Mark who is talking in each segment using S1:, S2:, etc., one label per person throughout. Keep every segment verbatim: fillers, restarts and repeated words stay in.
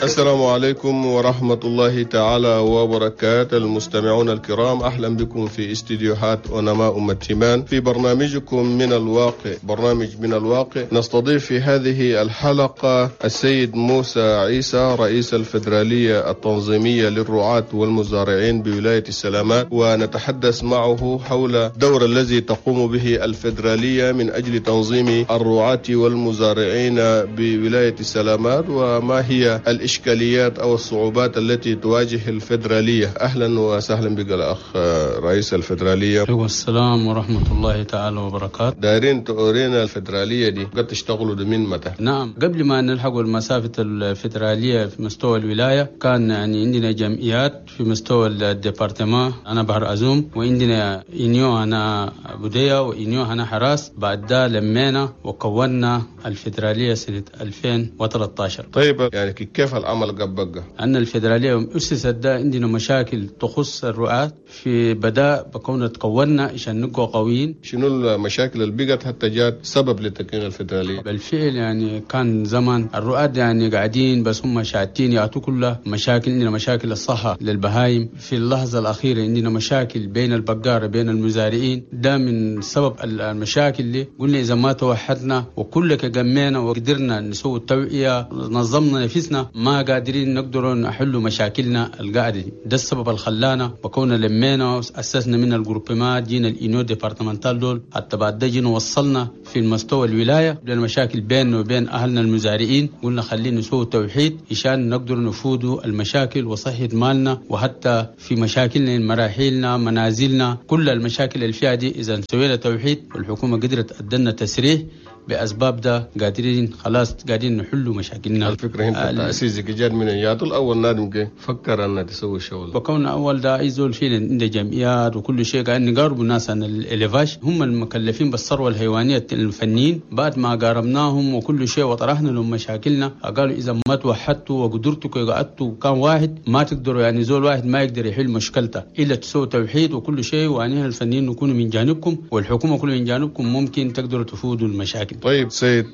S1: السلام عليكم ورحمة الله تعالى وبركاته. المستمعون الكرام، أهلا بكم في استديوهات أونما أم التيمان في برنامجكم من الواقع. برنامج من الواقع نستضيف في هذه الحلقة السيد موسى عيسى، رئيس الفدرالية التنظيمية للرعاة والمزارعين بولاية السلامات، ونتحدث معه حول الدور الذي تقوم به الفدرالية من أجل تنظيم الرعاة والمزارعين بولاية السلامات، وما هي الإشكاليات أو الصعوبات التي تواجه الفدرالية. أهلا وسهلا بك الأخ رئيس الفدرالية.
S2: عليكم السلام ورحمة الله تعالى وبركاته.
S1: دايرين تورينا الفدرالية دي قد تشتغلوا من متى؟
S2: نعم، قبل ما نلحق المسافة الفدرالية في مستوى الولاية كان يعني عندنا جمعيات في مستوى ال département هنا بحر أزوم، وعندنا union هنا أبودية و union هنا حراس. بعد ده لمينا وكونا الفدرالية سنة ألفين وثلاثة عشر.
S1: طيب، يعني كيف العمل قبقة؟
S2: أن الفدرالية أسست ده عندنا مشاكل تخص الرعاة في بدأ بكون تكونا عشان نبقى قويين.
S1: شنو المشاكل اللي بقت حتى جات سبب لتكوين الفدرالية؟
S2: بالفعل يعني كان زمان الرعاة يعني قاعدين بس هم شاتين يعطوا كلها مشاكل. عندنا مشاكل الصحة للبهايم، في اللحظة الأخيرة عندنا مشاكل بين البقارة، بين المزارعين. ده من سبب المشاكل اللي قلنا إذا ما توحدنا وكل جمعنا وقدرنا نسوي التوعية، نظمنا نفسنا، ما قادرين نقدروا نحلوا مشاكلنا القاعدة دي. ده السبب اللي خلانا بكونا لمينا أسسنا من ال groupement، جينا ال union départementale دول، حتى بعد ده جينا وصلنا في المستوى الولاية. المشاكل بيننا وبين أهلنا المزارعين، قلنا خلينا نسوي توحيد عشان نقدر نفوذوا المشاكل وصحة مالنا، وحتى في مشاكلنا، مراحيلنا، منازلنا، كل المشاكل اللي فيها دي إذا سوينا توحيد والحكومة قدرت أدنا تسريح بأسباب ده قادرين خلاص قاعدين نحلوا مشاكلنا.
S1: الفكرة هنا التأسيس جات من ياتو الأول نادم كي فكر أن تسوي الشغل؟
S2: بكون أول ده أي زول فينا عنده جمعيات وكل شيء قاعد نقاربوا الناس عن ال élevage، هم المكلفين بالثروة الحيوانية الفنيين. بعد ما قاربناهم وكل شيء وطرحنا لهم مشاكلنا، قالوا إذا ما توحدتوا وقدرتوا قعدتوا كان واحد ما تقدروا، يعني زول واحد ما يقدر يحل مشكلته إلا تسووا توحيد وكل شيء، وأنحنا الفنيين نكونوا من جانبكم والحكومة كلها من جانبكم، ممكن تقدروا تفوذوا المشاكل.
S1: طيب، سيد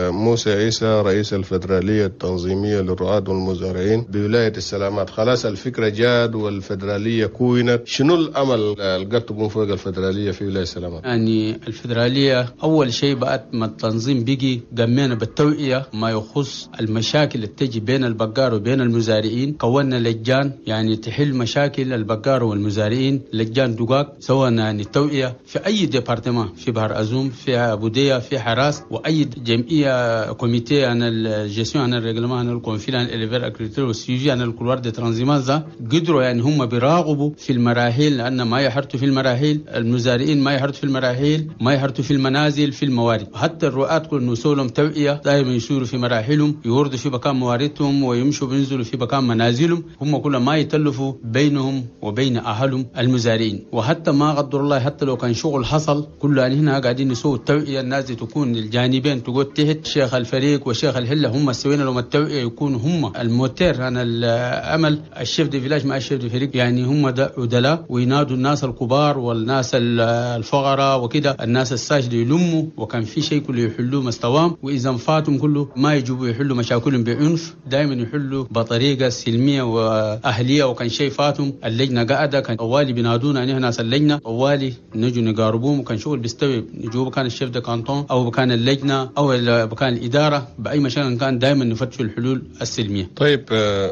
S1: موسى عيسى، رئيس الفدرالية التنظيمية للرعاة والمزارعين بولاية السلامات، خلاص الفكرة جاد والفدرالية كونت، شنو الأمل اللي قد تقوم فوق الفدرالية في ولاية السلامات؟
S2: يعني الفدرالية أول شيء بعد ما التنظيم بيجي قمينا بالتوعية ما يخص المشاكل اللي تجي بين البقار وبين المزارعين. كونا لجان يعني تحل مشاكل البقار والمزارعين، لجان دقاق سواء يعني التوعية في أي département، في بحر أزوم، في أبودية، في حراس، واي جمعيه comité عن ال gestion عن ال règlement عن ال conflits عن éleveurs agriculteurs وال suivi عن ال couloir de transhumance. قدروا يعني هم بيراقبوا في المراحيل، لان ما يحرتوا في المراحيل، المزارعين ما يحرتوا في المراحيل، ما يحرتوا في المنازل، في الموارد. حتى الرعاة كل نسوا لهم توعيه دائما يسوروا في مراحلهم، يوردوا في مكان مواردهم ويمشوا بينزلوا في مكان منازلهم، هم كل ما يتلفوا بينهم وبين اهلهم المزارعين. وحتى ما قدر الله حتى لو كان شغل حصل كله يعني هنا قاعدين نسوي التوعيه، الناس دي تكون الجانبين تقول تحت شيخ الفريق وشيخ الحله، هم سوينا لهم التوعيه يكونوا هم الموتير عن العمل، ال chef de village مع ال chef de فريق، يعني هم ده عدلاء وينادوا الناس الكبار والناس الفقراء وكده، الناس ال sages يلموا، وكان في شيء كله يحلوه مستواهم، واذا فاتهم كله ما يجوا يحلوا مشاكلهم بعنف، دائما يحلوا بطريقه سلميه واهليه. وكان شيء فاتهم اللجنه قاعده كان طوالي بينادونا يعني ناس اللجنه، طوالي نجوا نقاربوهم، وكان شغل بيستوي نجوا كان ال chef de canton او كان اللجنه او كان الاداره باي مشاكل كان دائما نفتشوا الحلول السلميه.
S1: طيب،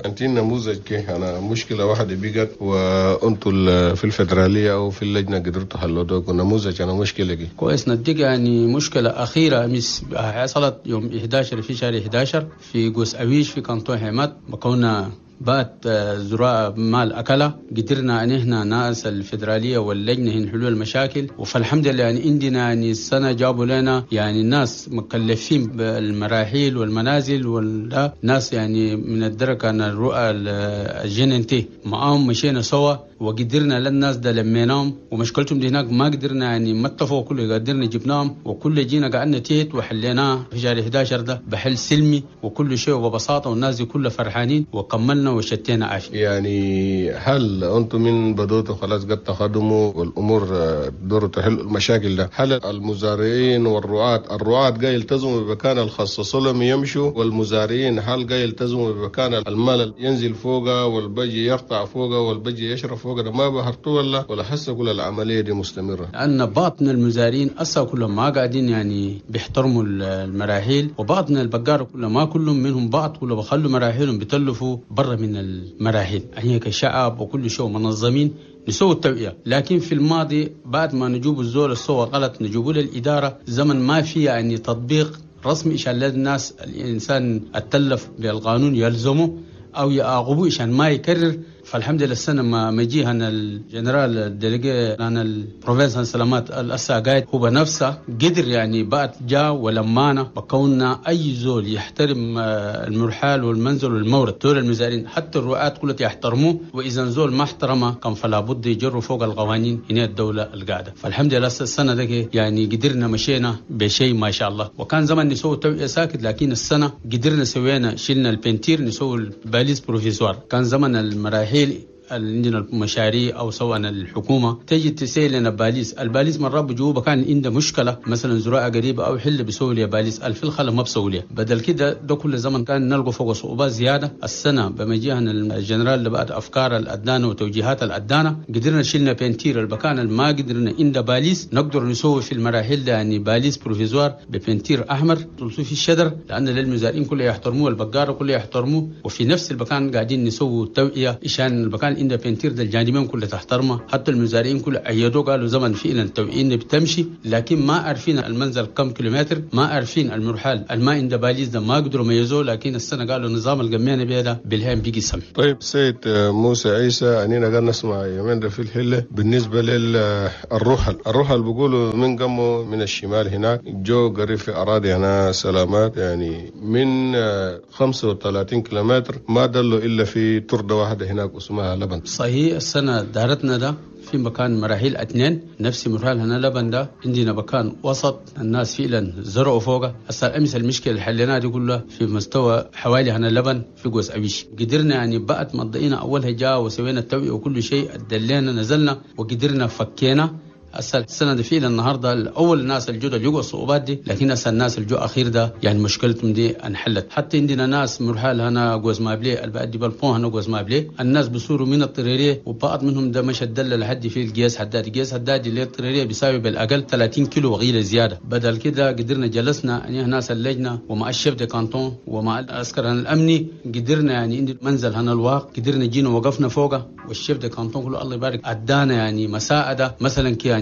S1: انت نموذج كيف انا مشكله واحده بقت وانتم في الفدراليه او في اللجنه قدرتوا تحلوا نموذج انا مشكله دي؟
S2: كويس، نديك يعني مشكله اخيره امس حصلت يوم إحدى عشر في شهر إحدى عشر في قوس اويش في canton حماد، بكونا بات زراعة مال أكلة، قدرنا أن إحنا ناس الفدرالية واللجنة نحلوا المشاكل. فالحمد لله يعني عندنا يعني السنة جابوا لنا يعني الناس مكلفين بالمراحيل والمنازل والناس يعني من الدركة أن الرؤى ال G N T معاهم مشينا سوا. وقدرنا للناس ده لميناهم ومشكلتهم دي هناك ما قدرنا يعني ما اتفقوا كله قدرنا جبناهم وكل جينا قعدنا تيت وحليناه في شهر إحدى عشر ده بحل سلمي وكل شيء وببساطة، والناس دي كلها فرحانين وكملنا وشتينا عافية.
S1: يعني هل أنتم من بدوتوا خلاص قد تخدموا والأمور دوروا تحل المشاكل ده، هل المزارعين والرعاة الرعاة جاي يلتزموا بمكان الخصص لهم يمشوا، والمزارعين هل جاي يلتزموا بمكان المال ينزل فوقه والبجي يرتع فوقه والبجي يشرب فوقه ده ما بهرتوا ولا ولا حسوا كل العملية دي مستمرة؟
S2: لأن بعض من المزارعين أصلا كلهم ما قاعدين يعني بيحترموا المراحيل، وبعض من البقار كلهم ما كلهم منهم بعض كلهم بخلوا مراحيلهم بتلفوا برا من المراحيل. هي كشعب وكل شيء منظمين نسوي التوعية، لكن في الماضي بعد ما نجوب الزول السوى غلط نجوبه للإدارة زمن ما في يعني تطبيق رسمي عشان الناس الإنسان اتلف بالقانون يلزمه أو يعاقبوه عشان ما يكرر. فالحمد لله السنة ما مجيها الجنرال ال délégué عن ال province سلامات الأسا قاعد هو بنفسه قدر يعني بعد جاء ولمانا بكوننا أي زول يحترم المرحال والمنزل والمورد دول المزارعين حتى الرعاة كلها يحترموه، وإذا زول ما احترمه كان فلا بد يجروا فوق القوانين هنا الدولة القاعدة. فالحمد لله السنة دي يعني قدرنا مشينا بشيء ما شاء الله، وكان زمان نسوي توعية ساكت، لكن السنة قدرنا سوينا شلنا ال peinture نسوي ال balises provisoires. كان زمن المراحيل عندنا المشاريع او سواء الحكومة تجي تسيل لنا balises، ال balises مرات بجوبه كان عنده مشكلة مثلا زراعة قريبه او حل بيسوي لي balises، الف الخلا ما بسوي لي، بدل كده ده كل زمن كان نلقى فوق صعوبات زيادة. السنة بمجيئنا الجنرال اللي بعد افكار الادانه وتوجيهات الادانه قدرنا شلنا peinture البكان ما قدرنا عند balises نقدر نسوي في المراحل ده يعني balises provisoires ب peinture احمر تلصوا في الشجر، لان للمزارعين كله يحترموه البقاره كله يحترموه، وفي نفس المكان قاعدين نسوي توعيه عشان المكان عند peinture ده الجانبين كله تحترمه، حتى المزارعين كله ايدوا قالوا زمن فعلا التوعية بتمشي، لكن ما عارفين المنزل كم كيلومتر، ما عارفين المرحال الماء عند balises ده ما قدروا يميزوه، لكن السنة قالوا النظام القمينا بيه ده بالهام بيجي سمح.
S1: طيب سيد موسى عيسى، انينا قاعد نسمع يومين ده في الحلة بالنسبة للرحل، الرحل بيقولوا من قموا من الشمال هناك جو قريب في اراضي هنا سلامات يعني من خمسة وثلاثين كيلومتر ما دلوا الا في ترده واحدة هناك اسمها لبن.
S2: صحيح السنة دارتنا ده في مكان مراحيل اثنين نفس مرحال هنا لبن ده عندنا مكان وسط الناس فعلا زرعوا فوقه. هسه امس المشكلة اللي حليناها دي كلها في مستوى حوالي هنا لبن في قوس ابيش، قدرنا يعني بعد ما ضينا اولها جاء وسوينا التوعية وكل شيء دلينا نزلنا وقدرنا فكينا. هسه السنة دي فعلا النهارده الاول الناس الجدد اللي يقعوا الصعوبات دي، لكن هسه الناس الجو اخير ده يعني مشكلتهم دي انحلت. حتى عندنا ناس مرحال هنا قوز مابلي البعد بالبون هنا قوز مابلي الناس بصوروا من الطريريه، وبعض منهم ده مش الدله لحد في القياس حداد، القياس حداد اللي الطريريه بيساوي بالاقل ثلاثين كيلو وغيره زيادة. بدل كده قدرنا جلسنا يعني ناس اللجنة ومع ال chef de canton ومع العسكر الامني قدرنا يعني عند منزل هنا الواق قدرنا جينا وقفنا فوقه، وال chef de canton كله الله يبارك ادانا يعني مساعدة مثلا يعني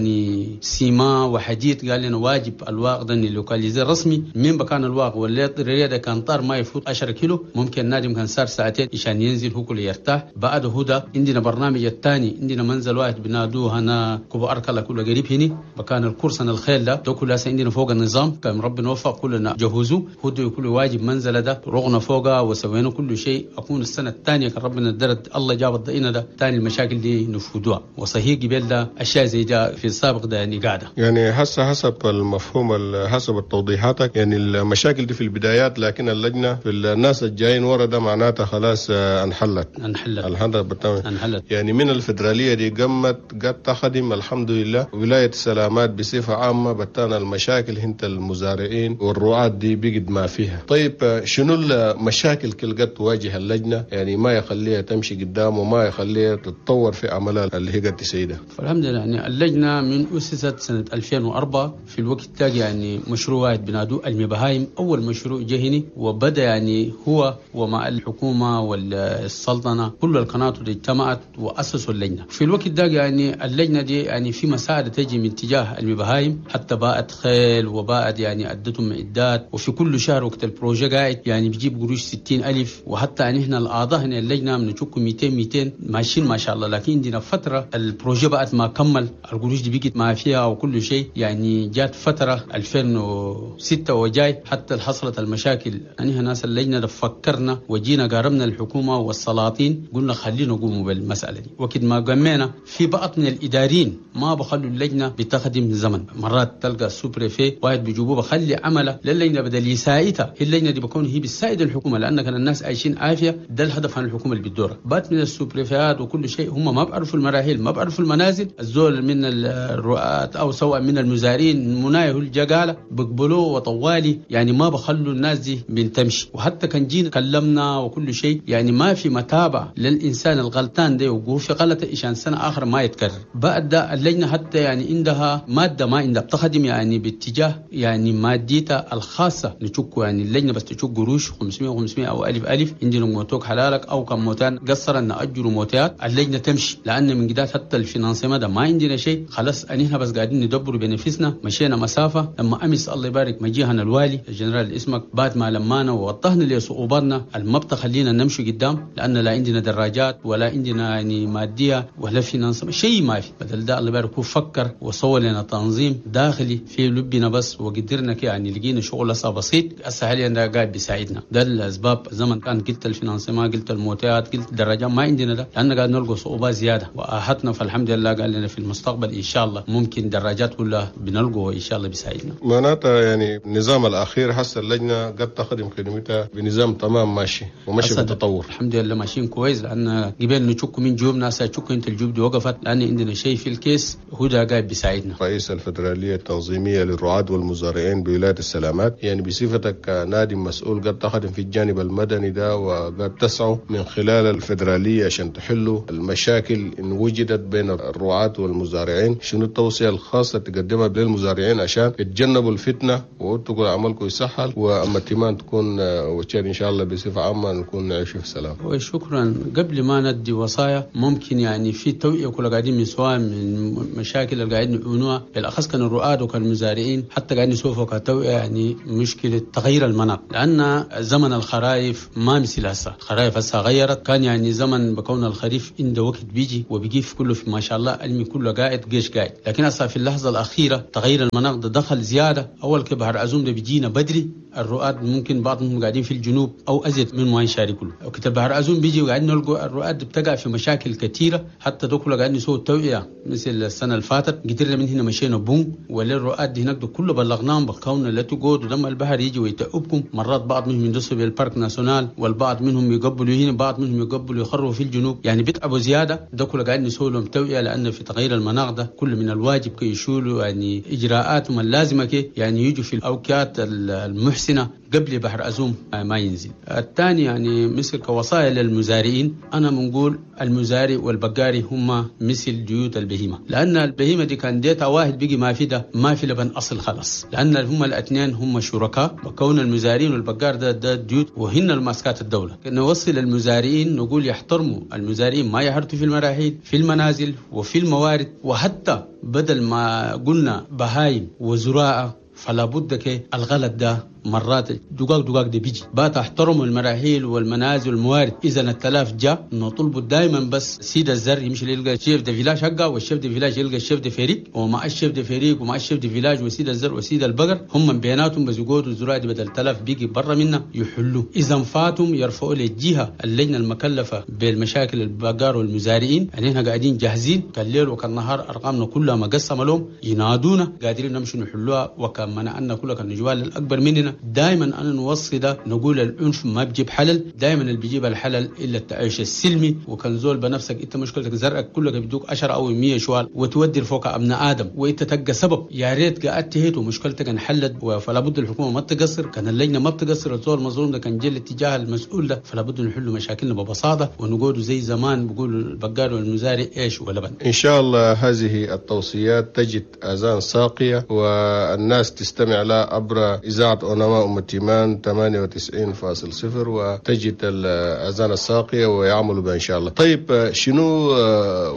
S2: ciment وحديد، قال لنا واجب الواق ده localiser رسمي من مكان الواق ولا الطريق ده كان طار ما يفوت عشرة كيلو، ممكن النادم كان صار ساعتين عشان ينزل هو كله يرتاح. بعد هدى عندنا برنامج الثاني عندنا منزل واحد بنادوه هنا كوبو اركلا كله قريب هني مكان الكرسن الخيل ده ده كله عندنا فوق النظام كان ربنا وفق كلنا جهزوه هدى كل واجب منزل ده رغنا فوقه وسوينا كل شيء. اكون السنة الثانية كان ربنا درد الله جاب الضئينه ده ثاني المشاكل دي نفودوها. وصحيح قبل ده اشياء زي ده في السابق ده يعني قاعدة
S1: يعني هسه حسب المفهوم حسب التوضيحاتك يعني المشاكل دي في البدايات، لكن اللجنة في الناس الجايين ورا ده معناتها خلاص انحلت
S2: انحلت
S1: انحلت بالتمام
S2: انحلت.
S1: يعني من الفدرالية دي قمت قد تخدم الحمد لله ولاية سلامات بصفة عامة بتانا المشاكل هنت المزارعين والرعاة دي بقد ما فيها. طيب شنو المشاكل كل قد تواجه اللجنة يعني ما يخليها تمشي قدام وما يخليها تتطور في عملها اللي هي قد تسيدها؟
S2: فالحمد لله يعني اللجنة من أسست سنة ألفين وأربعة في الوقت تاج يعني مشروع واحد بنادو المبهايم أول مشروع جهني، وبدأ يعني هو ومع الحكومة والسلطنة كل القناة اللي اجتمعت وأسسوا اللجنة. في الوقت ده يعني اللجنة دي يعني في مساعدة تجي من تجاه المبهايم، حتى باعت خيل وباعت يعني أدتهم معدات، وفي كل شهر وقت ال projet قاعد يعني بيجيب قروش ستين ألف، وحتى يعني إحنا الأعضاء هنا اللجنة بنشوفكم مئتين مئتين ماشيين ما شاء الله. لكن عندنا فترة ال projet بقت ما كمل القروش دي دي بقت ما فيها وكل شيء. يعني جات فترة ألفين وستة وجاي حتى حصلت المشاكل. يعني ناس اللجنة فكرنا وجينا قاربنا الحكومة والسلاطين، قلنا خلينا نقوم بالمسألة دي. وقت ما قمنا في بعض من الإداريين ما بخلوا اللجنة بتخدم زمن، مرات تلقى ال sous-préfet واحد بيجيبوه بخلي عمله للجنة بدل يساعدها، هي اللجنة دي بكون هي بتساعد الحكومة لأن كان الناس عايشين عافية، ده الهدف عن الحكومة اللي بتدورها. بات من ال sous-préfet ات وكل شيء هم ما بيعرفوا المراحل، ما بيعرفوا المنازل، الزول من الرؤات أو سواء من المزارين منايه الجقالة بقبلوه وطوالي، يعني ما بخلوا الناس دي بنتمشي. وحتى كان جينا كلمنا وكل شيء، يعني ما في متابعة للإنسان الغلطان ده وقوف في غلطة إشان سنة آخر ما يتكرر. بعد ده اللجنة حتى يعني عندها مادة ما عندها بتخدم يعني باتجاه يعني ماديتها الخاصة نشكو، يعني اللجنة بس تشك قروش خمسمية وخمسمية أو ألف ألف عندنا موتوك حلالك أو كم موتان قصر أن أجروا موتات اللجنة تمشي، لأن من جدات حتى ال financement ده ما عندنا شيء خلاص. أنحنا بس قاعدين ندبر بنفسنا، مشينا مسافة. لما أمس الله يبارك مجيهنا الوالي الجنرال اسمك بعد ما لمانا ووضحنا لصعوباتنا المبطة خلينا نمشي قدام، لأن لا عندنا دراجات ولا عندنا يعني مادية ولا financement شيء ما في. بدل ده الله يبارك هو فكر وصور لنا تنظيم داخلي في لبنا بس، وقدرنا يعني لقينا شغل هسه بسيط هسه حاليا ده قاعد بيساعدنا. ده الأسباب زمن كان قلت ال financement، قلت الموتات، قلت الدراجات ما عندنا ده، لأن قاعد نلقى صعوبات زيادة وأحتنا. فالحمد لله قال لنا في المستقبل إن شاء الله ممكن دراجات كلها بنلقوا إن شاء الله بيساعدنا.
S1: معناتها يعني النظام الأخير حس اللجنة قد تخدم خدمتها بنظام تمام ماشي وماشي بالتطور.
S2: الحمد لله ماشيين كويس، لأن قبل نشك من جيوب ناس تشك انت الجيوب دي وقفت، لأن عندنا شيء في الكيس هو ده قاعد بيساعدنا.
S1: رئيس الفدرالية التنظيمية للرعاة والمزارعين بولاية السلامات، يعني بصفتك نادي مسؤول قد تخدم في الجانب المدني ده وقد تسعوا من خلال الفدرالية عشان تحلوا المشاكل إن وجدت بين الرعاة والمزارعين، شنو التوصية الخاصة تقدمها للمزارعين عشان يتجنبوا الفتنة وتقول عملكم يسهل وأما تيمان تكون وتشاد إن شاء الله بصفة عامة نكون نعيش في سلام؟
S2: وشكرا. قبل ما ندي وصايا ممكن يعني في توعية كل قاعدين من سواء من مشاكل اللي قاعدين نعانوها بالأخص كان الرعاة وكان المزارعين، حتى قاعدين نشوفوا كتوعية يعني مشكلة تغيير المناخ، لأن زمن الخرايف ما مثل هسه، الخرايف هسه غيرت. كان يعني زمن بكون الخريف عنده وقت بيجي وبيجيف كله في ما شاء الله المي كله قاعد جيش قاعد، لكن هسه في اللحظة الأخيرة تغيير المناخ ده دخل زيادة. أول كبهر أزوم ده بيجينا بدري، الرؤاد ممكن بعضهم قاعدين في الجنوب أو أزيد من ما يشاركوا كله. وقت البحر أزوم بيجي وقاعدين نلقوا الرؤاد بتقع في مشاكل كثيرة، حتى دول قاعدين نسوي التوعية مثل السنة اللي فاتت قدرنا من هنا مشينا بوم ولا الرؤاد هناك ده كله بلغناهم بكون لا تقعدوا لما البحر يجي ويتعبكم. مرات بعض منهم يندسوا بال parc national والبعض منهم يقبلوا هنا، بعض منهم يقبلوا يخروا في الجنوب، يعني بيتعبوا زيادة. ده كله قاعدين نسوي لهم توعية، لأن في تغيير المناخ ده كل من الواجب كي يشولوا يعني إجراءاتهم اللازمة كي يعني يجوا في الأوقات المحسنة قبل بحر أزوم ما ينزل. الثاني يعني مثل كوصايا للمزارعين، أنا بنقول المزارع والبقاري هما مثل ديوت البهيمة، لأن البهيمة دي كان ديتها واحد بيجي ما في ده ما في لبن أصل خلاص، لأن هما الاثنين هما شركاء بكون المزارعين والبقار ده ده ديوت وهن الماسكات الدولة. نوصل المزارعين نقول يحترموا المزارعين، ما يحرتوا في المراحل في المنازل وفي الموارد، وحتى بدل ما قلنا بهايم وزراعة فلا بد كي الغلط ده مرات دقاق دقاق دي بيجي بات احترموا المراحيل والمنازل والموارد. اذا التلاف جاء نطلبوا دائما بس سيد الزر يمشي يلقى chef de village حقه، وال chef de village يلقى ال chef de فريق، ومع ال chef de فريق ومع ال chef de village وسيد الزر وسيد البقر هم بيناتهم بس يقعدوا الزراعة دي بدل تلاف بيجي برا منا يحلوا. اذا فاتهم يرفعوا للجهة اللجنة المكلفه بالمشاكل البقر والمزارعين، يعني احنا قاعدين جاهزين كالليل وكالنهار ارقامنا كلها مقسمة لهم ينادونا قادرين نمشي نحلوها. وكان منعنا كلها كان الاكبر مننا. دائما انا نوصي ده نقول العنف ما بجيب حلل، دائما اللي بيجيب الحلل الا التعايش السلمي. وكان زول بنفسك انت مشكلتك زرقك كلك بيدوك عشرة او مية شوال وتودي فوق ابناء ادم وانت تلقى سبب، يا ريت قعدت هيت ومشكلتك انحلت. فلا بد الحكومة ما تقصر، كان اللجنة ما بتقصر، الزول المظلوم ده كان جل اتجاه المسؤول ده، فلا بد نحل مشاكلنا ببساطة ونقول زي زمان بيقولوا البقال والمزارع ايش ولبن.
S1: ان شاء الله هذه التوصيات تجد اذان ساقيه والناس تستمع لها عبر اذاعة أونما أم التيمان ثمانية وتسعين فاصل صفر وتجد الأذان الساقية ويعملوا بها إن شاء الله. طيب شنو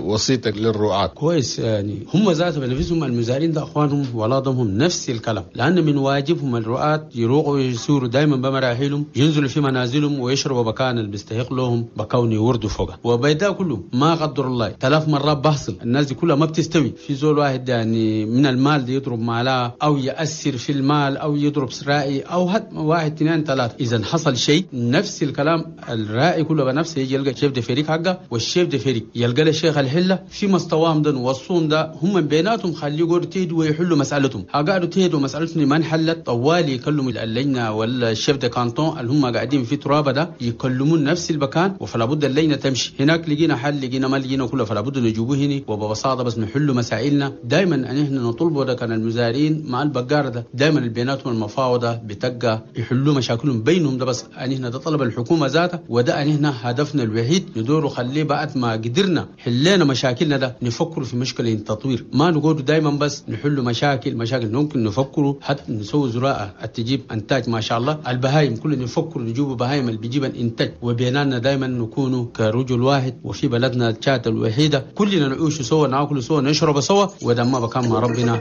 S1: وصيتك للرعاة؟
S2: كويس، يعني هم ذاتهم بنفسهم المزارعين ده أخوانهم ولادهم نفس الكلام، لأن من واجبهم الرعاة يروقوا ويسوروا دائما بمراحلهم، ينزلوا في منازلهم ويشربوا بكان اللي بيستحق لهم بكون يوردوا فوقه. وبيدا كله ما قدر الله ثلاث مرات بحصل الناس دي كلها ما بتستوي في زول واحد يعني من المال دي يضرب مالها أو يأثر في المال أو يضرب رائي أو هد واحد اثنين ثلاثة. إذا حصل شيء نفس الكلام الرائي كله بنفسه يجي يلقى chef de فريق حقه، وال chef de فريق يلقى له شيخ الحلة في مستواهم ده والصوم ده هم بيناتهم خليه يقعدوا تهدوا ويحلوا مسألتهم. قعدوا تهدوا مسألتهم ما انحلت طوالي يكلموا اللجنة ولا ال chef de canton اللي هم قاعدين في ترابة ده يكلمون نفس المكان، وفلا بد اللجنة تمشي هناك. لقينا حل لقينا ما لقينا كله فلا بد نجيبوه هنا، وببساطة بس نحلوا مسائلنا. دائما ان احنا نطلبوا ده كان المزارعين مع البقار ده دائما بيناتهم المفاوضة بتبقى يحلوا مشاكلهم بينهم ده، بس ان احنا ده طلب الحكومة ذاتها، وده ان احنا هدفنا الوحيد ندور خليه بعد ما قدرنا حلينا مشاكلنا ده نفكر في مشكلة التطوير، ما نقول دائما بس نحل مشاكل مشاكل ممكن نفكروا حتى نسوي زراعة تجيب انتاج ما شاء الله، البهايم كل نفكر نجيب بهايم اللي بيجيب الانتاج، وبيننا دائما نكون كرجل واحد وفي بلدنا تشاد الوحيدة كلنا نعيش سوا ناكل سوا نشرب سوا، وده ما بكان مع ربنا.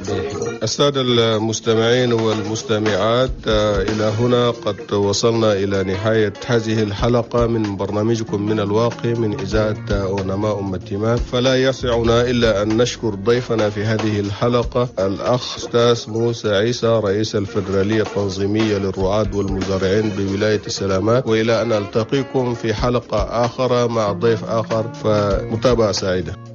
S1: السادة المستمعين والمستمعات، إلى هنا قد وصلنا إلى نهاية هذه الحلقة من برنامجكم من الواقع من إذاعة أونما أم التيمان. فلا يسعنا إلا أن نشكر ضيفنا في هذه الحلقة الأخ أستاذ موسى عيسى رئيس الفدرالية التنظيمية للرعاة والمزارعين بولاية السلامات، وإلى أن ألتقيكم في حلقة آخرى مع ضيف آخر، فمتابعة سعيدة.